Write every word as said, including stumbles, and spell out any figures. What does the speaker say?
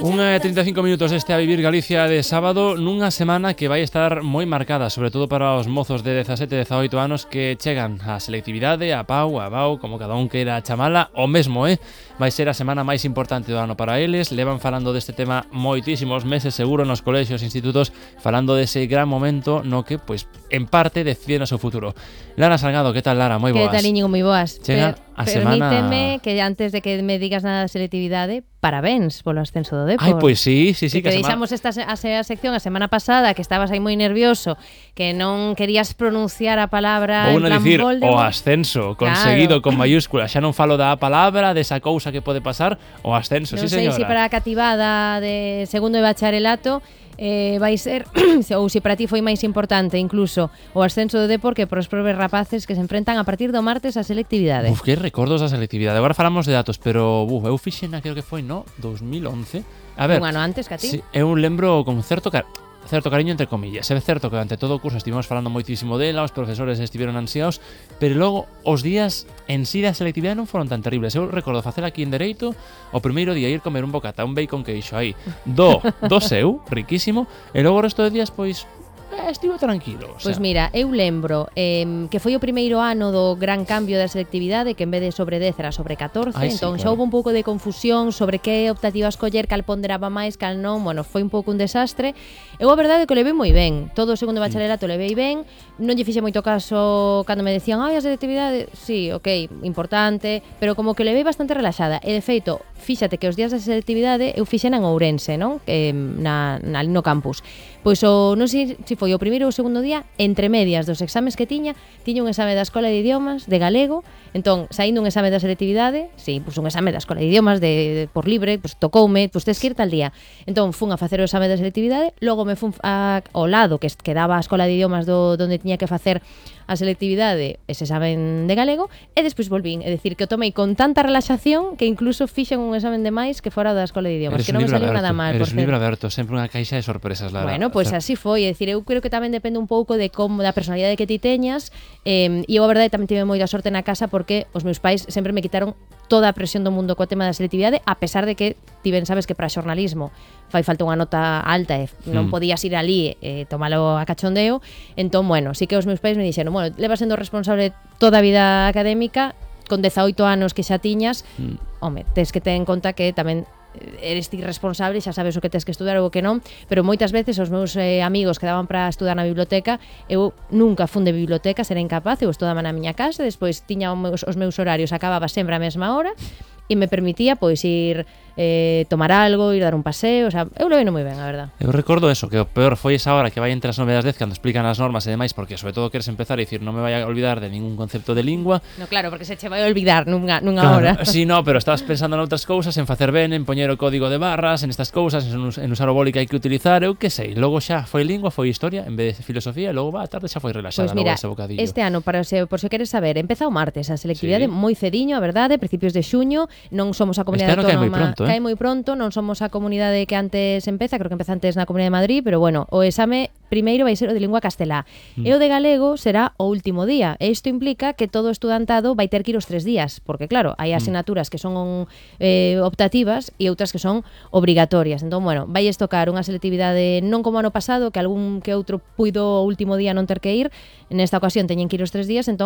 Unha e trinta e cinco minutos este A Vivir Galicia de sábado, nunha semana que vai estar moi marcada, sobre todo para os mozos de dezasete e dezaoito anos que chegan á selectividade, a Pau, a Bau, como cada un queira chamala, o mesmo, eh? Vai ser a semana máis importante do ano para eles. Levan falando deste tema moitísimos meses, seguro, nos colexios e institutos, falando dese gran momento no que, pois, en parte, deciden o seu futuro. Lara Salgado, que tal, Lara? Moi boas. Que tal, Íñigo? Moi boas. Chega Per, a semana... Permíteme que antes de que me digas nada da selectividade, parabéns polo ascenso do Depor. Ai, pois sí, sí, sí. Que, que que semana... deixamos esta a, a sección a semana pasada, que estabas aí moi nervioso, que non querías pronunciar a palabra Vou en plan dicir, Voldemort. o ascenso, conseguido, claro, con mayúsculas. Xa non falo da palabra, desa cousa que pode pasar, o ascenso, non sí, sei señora. se para a cativada de segundo de bacharelato eh, vai ser, ou se para ti foi máis importante incluso o ascenso do Depor que para os probes rapaces que se enfrentan a partir do martes a selectividade. Uf, que recordos da selectividade. Agora falamos de datos, pero uf, eu fixen, creo que foi, no, dos mil once. A ver, un ano antes que a ti. Sí, eu lembro con certo car certo cariño entre comillas. É certo que durante todo o curso estivemos falando moitísimo dela, os profesores estiveron ansiados, pero logo os días en sí da selectividade non foron tan terribles. Eu recordo facer aquí en Dereito o primeiro día ir comer un bocata, un bacon queixo aí, do, do seu, riquísimo, e logo o resto de días, pois, eh, estivo tranquilo. O sea. Pois mira, eu lembro eh, que foi o primeiro ano do gran cambio da selectividade, que en vez de sobre dez era sobre catorce, Ai, entón sí, xa claro. houve un pouco de confusión sobre que optativa escoller, cal ponderaba máis, cal non, bueno, foi un pouco un desastre. Eu a verdade é que o levei moi ben, todo o segundo bacharelato levei ben, non lle fixe moito caso cando me decían, ai, a selectividade, sí, ok, importante, pero como que o levei bastante relaxada, e de feito, fíxate que os días da selectividade eu fixen en Ourense, non? Eh, na, na, no campus. Pois o, non sei se foi o primeiro ou o segundo día, entre medias dos exames que tiña, tiña un exame da Escola de Idiomas de galego, entón, saindo un exame da selectividade, si, sí, pois un exame da Escola de Idiomas de, de por libre, pois tocoume, pois tes que ir tal día. Entón, fun a facer o exame da selectividade, logo me fun a, ao lado que quedaba a Escola de Idiomas do, donde tiña que facer a selectividade, ese examen de galego, e despois volvín, é dicir, que o tomei con tanta relaxación que incluso fixen un examen de máis que fora da Escola de Idiomas, Eres que non me saliu aberto, nada mal. Eres un libro aberto, sempre unha caixa de sorpresas, Lara. Bueno, pois pues así foi, é dicir, eu creo que tamén depende un pouco de como da personalidade que ti teñas, eh, e eu a verdade tamén tive moita sorte na casa porque os meus pais sempre me quitaron toda a presión do mundo coa tema da selectividade, a pesar de que ti ben sabes que para xornalismo fai falta unha nota alta e non mm. podías ir ali e eh, tomalo a cachondeo. Entón, bueno, sí que os meus pais me dixeron, bueno, levas sendo responsable toda a vida académica, con dezaoito anos que xa tiñas, mm. home, tes que ter en conta que tamén eres ti responsable, xa sabes o que tes que estudar ou o que non, pero moitas veces os meus eh, amigos que daban para estudar na biblioteca, eu nunca fun de biblioteca, era incapaz, eu estudaba na miña casa, despois tiña os meus, os meus horarios, acababa sempre a mesma hora, e me permitía pois ir eh, tomar algo, ir dar un paseo, o sea, eu lo veno moi ben, a verdad. Eu recordo eso, que o peor foi esa hora que vai entre as nove das dez cando explican as normas e demais, porque sobre todo queres empezar a dicir, non me vai a olvidar de ningún concepto de lingua. No, claro, porque se che vai a olvidar nunha, nunha claro, hora. Sí, no, pero estabas pensando en outras cousas, en facer ben, en poñer o código de barras, en estas cousas, en, en usar o boli que hai que utilizar, eu que sei. Logo xa foi lingua, foi historia, en vez de filosofía, e logo va, a tarde xa foi relaxada, pues mira, logo ese bocadillo. Este ano, para se, por se queres saber, empeza o martes a selectividade, sí. moi cediño, a verdade, principios de xuño, non somos a comunidade este autónoma, cae moi pronto, eh? cae moi pronto, non somos a comunidade que antes empeza, creo que empeza antes na Comunidade de Madrid, pero bueno, o exame primeiro vai ser o de lingua castelá, mm. e o de galego será o último día, e isto implica que todo estudantado vai ter que ir os tres días, porque claro, hai asignaturas que son eh, optativas e outras que son obrigatorias, entón, bueno, vai tocar unha selectividade non como ano pasado, que algún que outro puido o último día non ter que ir, nesta ocasión teñen que ir os tres días, entón